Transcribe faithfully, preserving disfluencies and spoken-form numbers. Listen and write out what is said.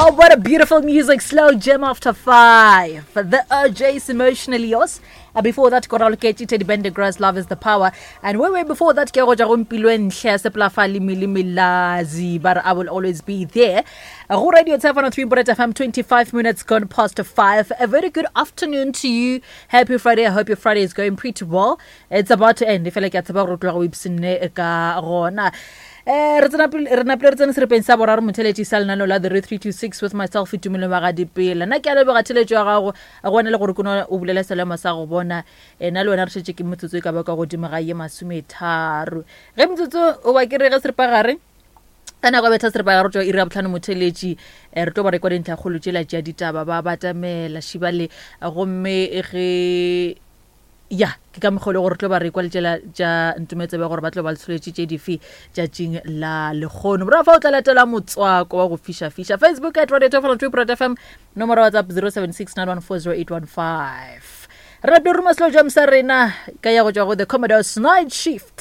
Oh, what a beautiful music. Slow jam after five. The O'Jays Emotionally Yours. Uh, before that, Coral Kechi, Teddy Pendergrass, Love is the Power. And way, way before that, ke go tšwa go Mpilwenhle, Seplafa le Mili Milazi, but I will always be there. Uh, Go Radio seven oh three Boret F M, twenty-five minutes gone past five. A very good afternoon to you. Happy Friday. I hope your Friday is going pretty well. It's about to end. If I like, it's about to go ka gona. Eh, re tsena pele, re napile re tsene serepeng sa boraro motheletši sa lenaneo la The Re three two six with myself Tumelo Magadipela. Nna ke a leboga theletšo ya gago, go wena le gore ke no o bulela selemo sa go bona. Eh, nna le wena re šetše ke metsotso e ka ba ka godimo ga ye masometharo. Ge metsotso o ba ke re ge seripagare, ka nako ya betha seripagare go tšwa iri ya bohlano motheletši, eh, re tlo ba re kwa dintlhakgolo tšela tša ditaba ba batamela šibale, gomme ge ya ke ka mokgwa o le gore tlo ba re kwa letšela tša ntumetsebe gore ba tlo ba le tsholetše tše dife tšatšing la lekgono. Morago fa o tla latela motswako wa go fiša-fiša. Facebook at Radio two four three Boret F M, nomoro ya WhatsApp zero seven six nine one four zero eight one five. Re napile ruma slow jam sa rena ka ya go tšwa go The Commodores Night Shift.